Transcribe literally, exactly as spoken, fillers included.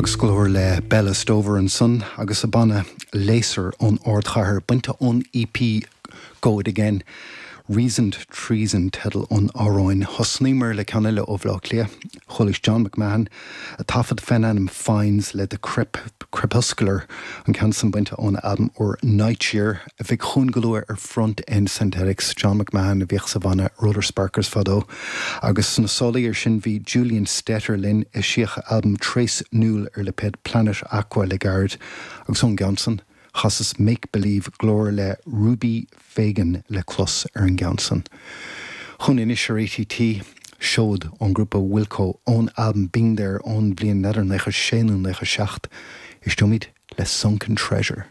Agus glór le Bella Stover ansan agus a banna Laser ón ardchathair bainte ón EP Go It Again. Reasoned Treason teideal an amhráin thosnaíomar le ceann eile ó Bhaile Átha Cliath, chuala John McMahon a taifead faoin ainm Fines le The Crep Crepuscular an ceann san bainte ón albam úr Nightyear a bheidh chugainn go luath ar Front End Synthetics John McMahon a bhíodh sa bhanna Roller Sparkers fadó agus sna sála air sin bhí Julian Stetter linn eisíodh albam Trace Newell ar lipéad Planet Aqua le gairid agus ón gceann san chasas Make Believe glór le Ruby Fagan le clos ar an gceann san. Chun inis ar ATT seod ón grúpa Wilco ón albam Being There ón bhliain naoi déag nócha sé nó nócha seacht éisteoimid le Sunken Treasure.